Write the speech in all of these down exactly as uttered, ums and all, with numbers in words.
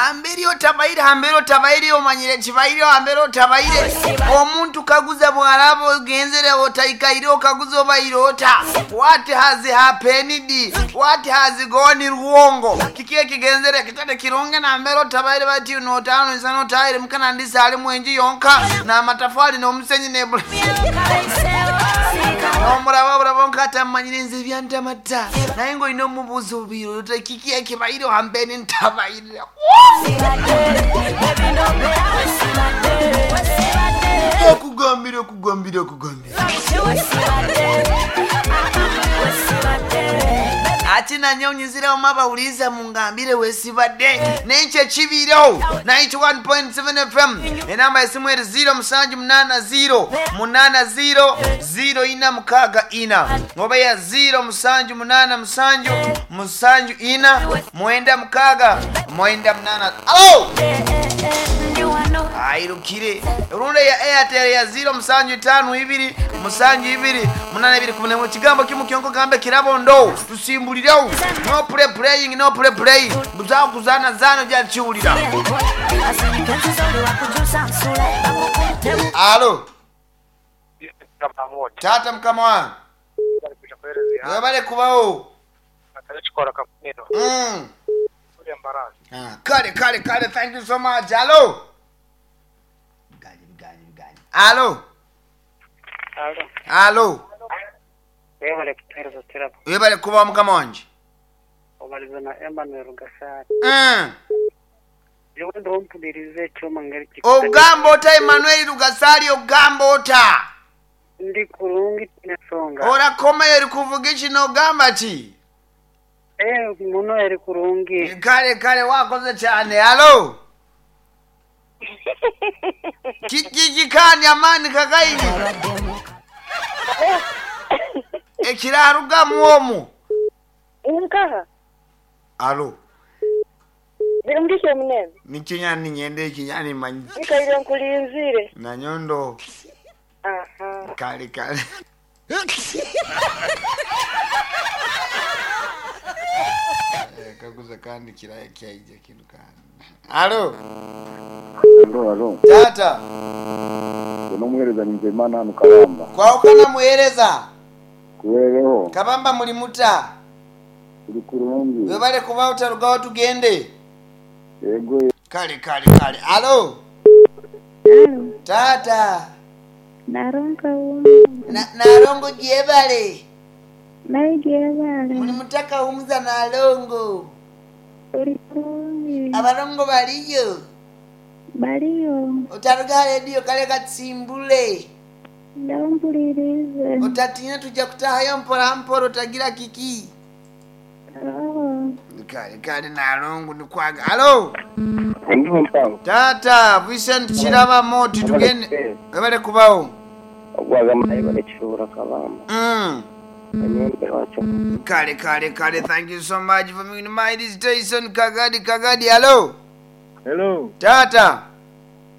Hamberi otabaire, hamberi otabaire, omanyire kibaire, hamberi otabaire. Omuntu kaguza bw'araba ogenzere otaikaire okaguza obaire ota. What has happened? What has gone wrong? Kiki ekigenzere kitale kirungi nambere otabaire bati notano nsana otaire mukana ndisa ali mwenji yonka n'amatafali n'omusenyi nebula. Omuraba buraba nkatamanyire nze ebyantamata naye ng'olina omubuuza obiire ota kiki ekibaire hambeni ntabaire. Okugambira okugambira okugambira ati nanyonyizirawo mabawuliza mungambire wesibadde nenkyo ekibiirewo ninety-one point seven F M enamba esimu eri zero musanju munana zero munana zero zero ina mukaaga ina oba ya zero musanju munana musanju musanju ina mwenda mukaaga mwenda munana. Alo airukire runda ya Airtel ya zero musanju tano ibiri musanju ibiri munana ibiri kumi n'emwe. Kigambo kimu kyonko gambe kirabo ndo tusimbulirawo. No play playing, no play play, buzaho kuzana zano byakiwulira. Alo tata mukama wange webale kubawo. Mm. Ah, kale kale kale, thank you so much. Alo Alo. Alo. Alo. Webale kutuhereza tirabo. Webale kuba mukama wanje. Obaliza na Emmanuel Gasari. Mm. Jewe ndo mpulirize ekyoma ngeri ki. Ogamba ota Emmanuel Gasari, ogamba ota. Ndi kurungi nesonga. Ora koma eri kuvuga kino ogamba ki? Eh muno eri kurungi. Kale kale wakoze cyane. Alo. Kiki kani amani kakaini. Ekirarugamu omwo. Nkaha. Alo. Birungishe munene. Nikinyani nyende ikinyani manyi. Nikaire nkulinzire. Na nyondo. Aha. Kale kale. Kaguza kandi kiraya kyaija kintu kandi. Alo. Alo, alo. Tata. Unomuhereza ni Nzeyimana hano Kabamba. Kwaukana muhereza. Kuwereho. Kabamba muri muta. Uri kurungi. Webale kuba utarugaho tugende. Yego. Kale kale kale. Alo. Alo. Tata. Narongo. Na narongo jebale. Naye jebale. Muri mutaka umuza nalongo. Uri kurungi. Abalongo baliyo. Baliyo. Utaruga radio kale katsimbule. Ndampulirize. Utatinya tujja kutahayo mpora mpora utagira kiki. Oh. Kale kale nalongo nikwaga. Alo. Ndiho mpango. Tata Vincent Chiraba moti tugende. Webale kubawo. Ogwaga mayi bale kishobora Kabamba. Mm. Kale kale kale, thank you so much for me. My this Jason Kagadi Kagadi. Hello. Hello. Tata.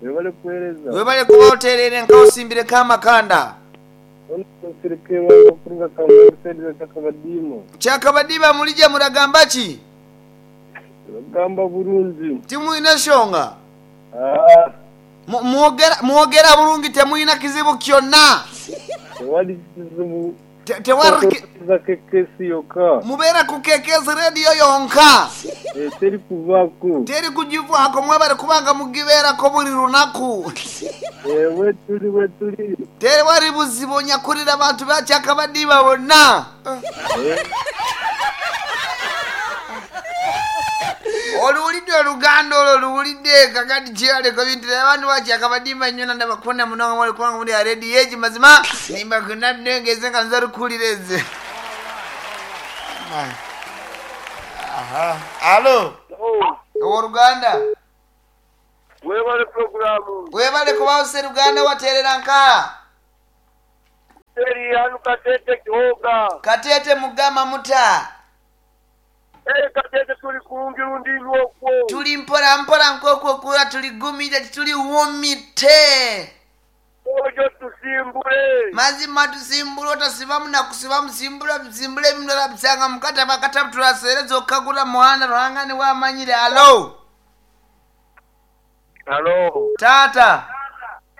Webale kuhereza. Webale kuba oterere nka osimbire kama kanda. Chakabadiba mulija muragamba ki? Muragamba burungi. Timwina shonga. Ah. Mwogera mwogera burungi temwina kizibu kyonna. Tewali kizibu. Tewari kekesi yoka. Mubera ku kekesi radio yonka. Eh teri kuvako. Teri kujivako mwebale kubanga mugibera ko buri runaku. Eh we tuli we tuli. Teri wari buzibu nyakurira abantu bacyakabadiba bonna. Eh. Oluwulidde oluganda olwo oluwulidde kakati kyaleko bintu abantu bakyakabadimba nnyo nandabakunda munonga mwali kubanga muli already yeji mazima nimba kuna nengeze nga nza rukulira eze. Aha. Alo. Owoluganda. Webale programu. Webale kubawo Sseruganda waterera nka. Teri hanu Katete Kihoga. Katete mugama muta. Eh Katete tuli kurungi rundi nyokwo. Tuli mpora mpora nkokwo kura tuli gumije tuli wumite. Ojo tusimbule. Mazima tusimbule otasibamu na kusiba musimbula musimbule ebintu bisanga mukata bakata tulasereza okagula muhanda ruhanga ni wamanyire. Alo. Halo. Tata.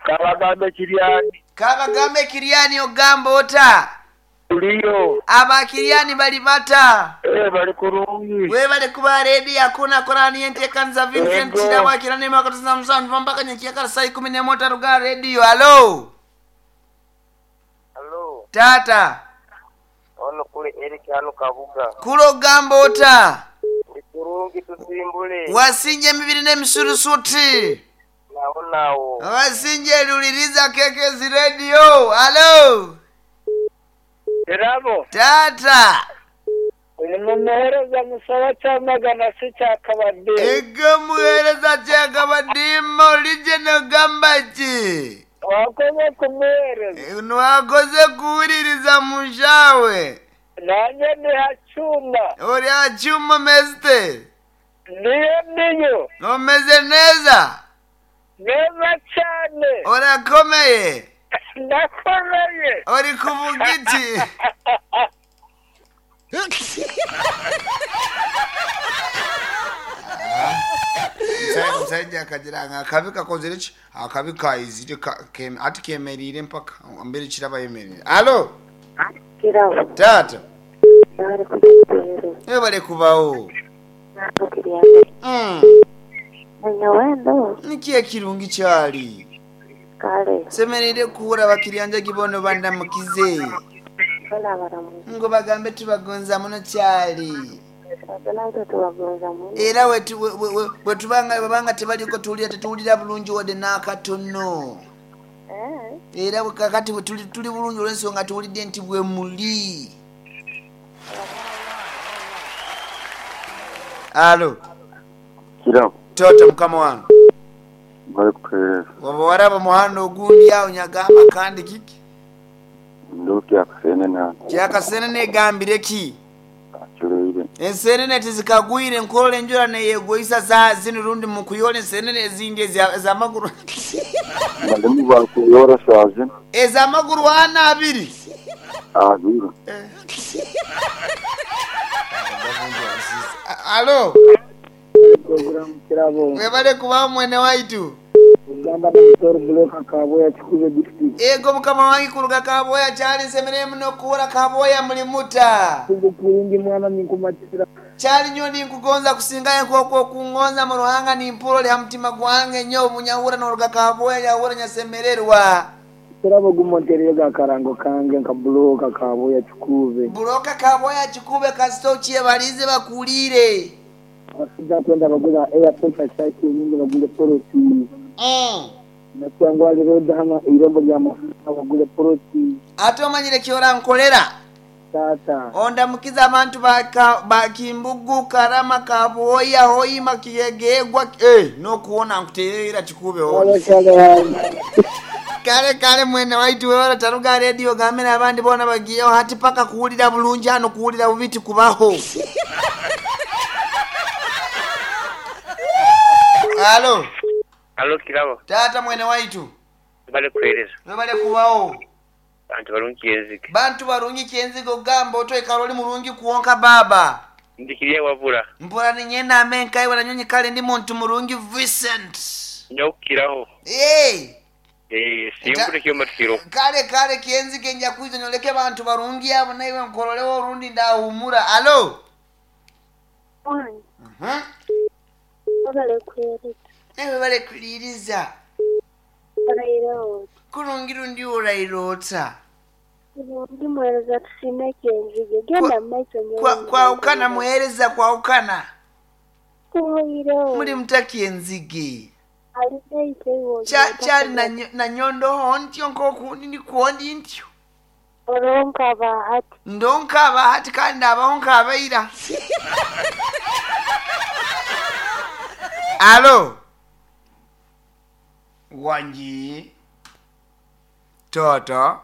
Kabagambe Kiryani. Kabagambe Kiryani ogamba ota. Tuliyo. Aba Kiryani bali bata. Eh bali kurungi. We bali kuba ready hakuna korani entekanza Vincent Ego. Kirabo kirani makatuza musanvu mpaka nyekiakala saa ikumi n'emwe ruga radio. Halo. Halo. Tata. Ono kule Eric hano Kabuga. Kulo ogamba ota. Ndi kurungi tusimbule. Wasinje emibiri n'emisurusuti. Nawo nawo. Wasinje luliriza Kekezi radio. Halo. Kirabo. Tata. Uyu mumuhereza musaba cyamagana si cyakabadde. Ego muhereza kyakabadima olijje nogamba ki? Wakoze kumuhereza. Nwakoze kuwuliriza mushawe. Nanjye ndi hacyuma. Ori hacyuma mesite. Niyo niyo. Omeze neza. Neza cyane. Orakomeye. Ndakomeye. Ori kuvuga iki? Omusajja akagira nga akabi kakozere ki? Akabi kaizire ka- ke- ati kemerire mpaka mbere kiraba yemerire. Alo. Kirabo. Tata. Bari kukuhereza. Webale kubawo. Nako Kiryani. Mm. Nanyawendo. Niki ekirungi kyali? Kale. Semerere kuhura bakiryanja gibono bandamukize. Bala baramu. Ngo bagambe tubagonza muno kyali. Natwe tubagonza muno. Era wetu- we- we- we- bwe tubanga bwebanga tebaliko tuwulira tetuwulira bulungi wadde n'akatono. Eh. Era bwe kakati bwe tuli tuli bulungi olw'ensonga tuwulidde nti bwe muli. Alo, Kirabo. tota mukama wange. Bali kutuhereza. Waba waraba muhanda ogundi awo nyagamba kandi kiki? Ndoki akasenene hano. Kyakasenene egambire ki? Aculeire. Ensenene tizikagwire enkola enjura neyegoisa saa zino rundi mukuyola ensenene ezindi eza- ez'amaguru Balimu bakuyora saa zino. ez'amaguru ana abiri. Abiri. Alo, Kirabo. webale kuba mwene waitu. Uganda na Buloka Kaboya Kikuze district. Ego mukama wange kuruga Kaboya kyali nsemere muno kuwura Kaboya muli muta. Kugu kurungi mwana ninkumatira. Kyali nnyo ninkugonza kusingayo nk'okwo okungonza mu ruhanga nimpulo lya mutima gwange nnyo obunyahura n'oruga Kaboya nyahura nyasemererwa. Kirabo gumonterere ga karango kange nka Buloka Kaboya Kikuze. Buloka Kaboya Kikube kasita okyebalize bakuliire. Abasajja kwenda bagula air pressure cycle nyingi bagule poroti. Mm. Nakyangwa road hano irembo rya mafuta bagule poroti. Ate omanyire kyorankolera. Tata. Ondamukiza abantu baka bakimbugu Karama Kaboya Hoima Kiyegegwa eh nokuwona nkuteera Kikube Kale kale hange. kale kale mwene waitu wewe taruga radio gamera abandi bona bagiyeho hati paka kuwulira bulungi hano kuwulira bubiti kubaho. Alo, Halo Kirabo. tata mwene waitu Bali kuhereza. webale kubawo. Bantu balungi enzige. Bantu barungi kyenzigo gamba otoikala oli mulungi kuwonka baba. Ndikiriya wabula. Mpura ninyenda amenka iwe nanyonyi kale ndi muntu mulungi Vincent. Nyokukiraho. Hey, Eh simbule kiyo matikiro. kale kale kiyenzige nja kwiza nyoleke bantu barungi abo naiwe nkorolewo orundi ndahumura. Alo. Wange. Mhm. Wabale kuhereza. Ewe bale kuliriza. Orairota. Kurungi rundi orairota. Ndi muhereza tusime kyenzige. Genda mu maiso Kwa kwaukana muhereza kwaukana. Kuhoireho. Muli mutaki enzige. Alineite iwo. Kya kyali na nyo- na nyondoho ntyo nkokundi ndikuondi ntyo. Oronka bahati. Ndonka bahati kandi abaho nkabaira. Alo. Wanji. Toto.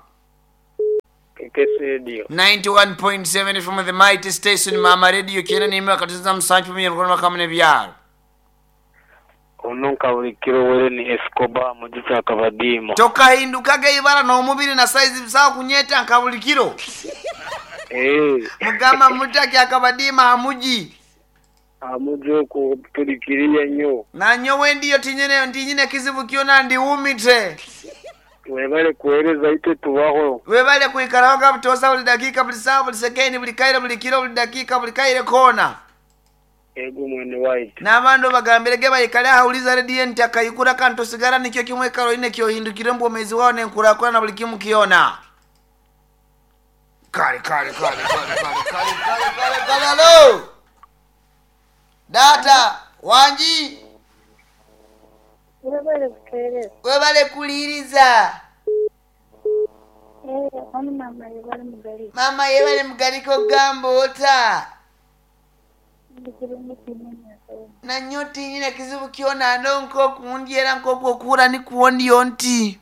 Kekesi radio. ninety-one point seven from the mighty station Mama Radio kyena nimwe akatuza musanju pamwe n'okukola kamwe byalo. Ono nkabulikiro were ni Escobar mu gisa akabadima. Tokahindukaga ibara n'omubiri na size bisawa kunyeta nkabulikiro. Eh. Mugamba mutaki akabadima hamuji. Amujuku tulikiriye nnyo. Nanyowe ndiyo tinyine tinyine kizibu kyona ndiwumite. Webale kuweereza itwe tubaho. Webale kwikaraho nga butosa buli dakika buli sawa buli sekendi buli kaire buli kiro buli dakika buli kaire kona. Ego mwene waitu. N'abantu bagambirege bayikale ahawuliza rediyo nti akayikura kandi tosigara nikyo kimwe Caroline kyohindukire mbwomezi wawo nenkurakura na buli kimu kyona. Kale kale kale kale kale kale kale kale kale alo. Data wanji Webale kutuweereza. webale kuliriza. Eh, ono mama yebale mugali. Mama yebale mugaliko gamba ota. Ndikirungi kinene. Nanyo tinyine kizibu kyona ndo nkoku era nkoku okura nikuwondiyo nti.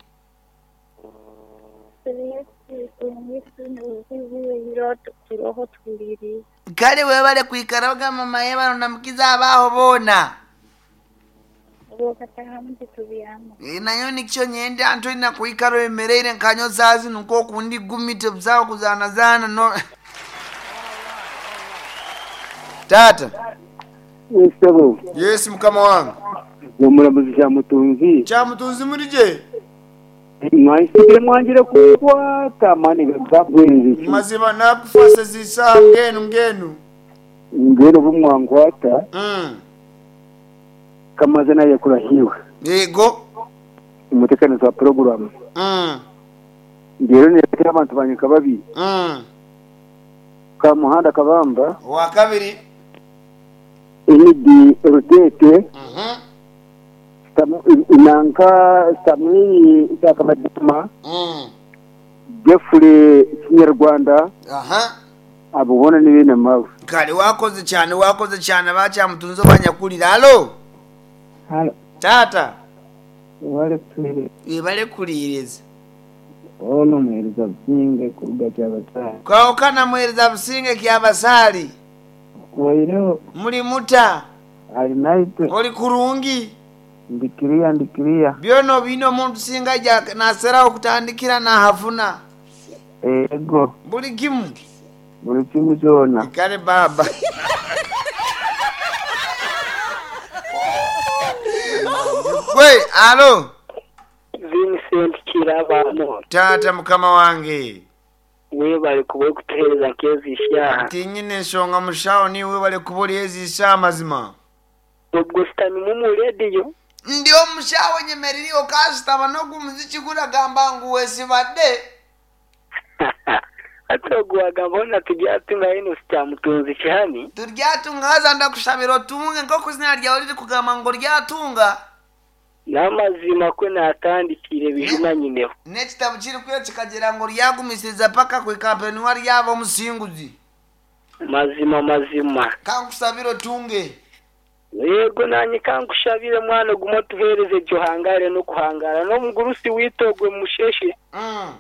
Kale webale kwikaraga mama yebale namukiza abaho bona. E, nayo nikyo nyenda nto ina kuikaro emereire nkanyo zazi nuko kundi gumite buzawo kuzana zana no. Tata. Yesebo Yes mukama wange. omulamuzi Kyamutunzi Kyamutunzi mulije. mwansigire mwangire kukwata amaani gagabwenzi Mazima nakufasa zisa ngenu ngenu. ngeno bumwankwata Mm. kamaze naye kurahiwe Yego. umutekanizi wa porogaramu Mm. ngero niretera abantu banje nka babiri Mm. ka muhanda kabamba Wa kabiri. enidi rutete Mhm. Samu- nanka samwiri sakabadima Mm. jeffrey kinyarwanda Aha. abo bona ni bene mawe Kale wakoze cyane wakoze cyane bakyamutunzi banyakulira. Alo. Halo, Tata. webale kutuweereza. Webale kuliriza. Ono muheereza Businge kuruga Kyabasaali. Kwawukana muhereza Businge Kyabasaali. Kuwaireho Muli muta. ali naitwe Oli kurungi. ndikiriya ndikiriya. Byono bino omuntu singa ja naserawo kutandikira nahafuna. Ego Buli kimu. buli kimu kyona. Kale baba. Gwe, alo. Vincent Kirabamo. Taata mukama wange. Webale kuba kutuheereza nk'ezi ishaha. Tinyine ensonga mushawo niwe webale kuba oli ezisa amazima. Ubwo sitamimu mu rediyo. Ndi omushawo nyemeriri okasitama n'ogumuziki guragamba ngu wesibadde. Ate ogwo wagamba hona tujyatunga ino sikyamutunzi kihani. Turyatunga haza ndakushabira otunge nk'oku izina ryawe riri kugamba ngu oryatunga. N'amazima kwe natandikire bijuma nyineho. N'ekitabo kiri kwiyo kikagira ngu oryagumisiriza paka kwikampeni ryaba omusinguzi. Mazima mazima. Kankusabira otunge. Yego nanye kankushabire mwana guma tuhereze gyohangare no kuhangara n'omugurusi witogwe musheshe. Mm.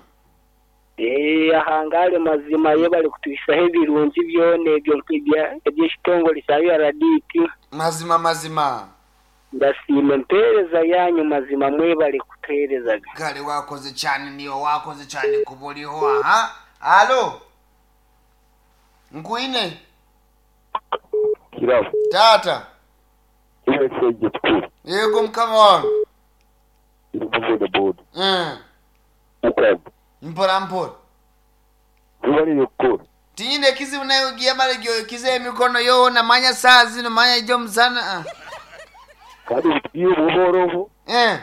Eh ahangare mazima ye bali kutuisaho ebirungi byona ebyo nk'ebya eby'ekitongole kya U R D T. Mazima mazima. Ndasiima empeereza yanyu mazima mwebale kutuheerezaga. Kale wakoze cyane niyo wakoze cyane kuba uriho aha. Alo. Nkuine. Kirabo Tata. iwesege tukuru Yego mukama wange. iri kuboda boda Mm. ukamba Mpora mpora. tubarire gukora Tinyine kizibu nayo ugiye mara igihe ukize emikono yoona manya saa zino manya ijyo musana. ah. kandi butwiye buhoroho Eh.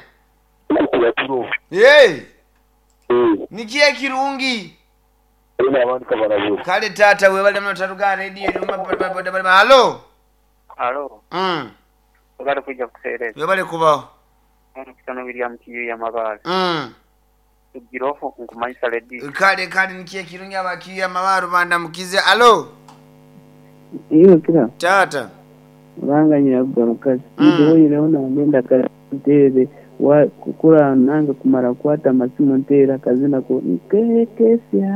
ukuba turoho Hey. eh Nikiye kirungi. ari n'abandi kabarabura Kale tata webale muno taruga radio nyuma boda Halo. Alo, Mm. webale kujja kutuheereza. Webale kubaho. Omukisano William Kiyu y'amabaale. Mm. Tugiroho nkumanyisa rediyo. Kale kale nikiye kirungi abakiya amabaro bandamukize. Alo. Iyo kira Tata. uranga nyirabuga mukazi. Mm. Ndiwoyireho nangenda katere wa kukura nange kumara kwata amasimu nteera akazina ko nkekesya.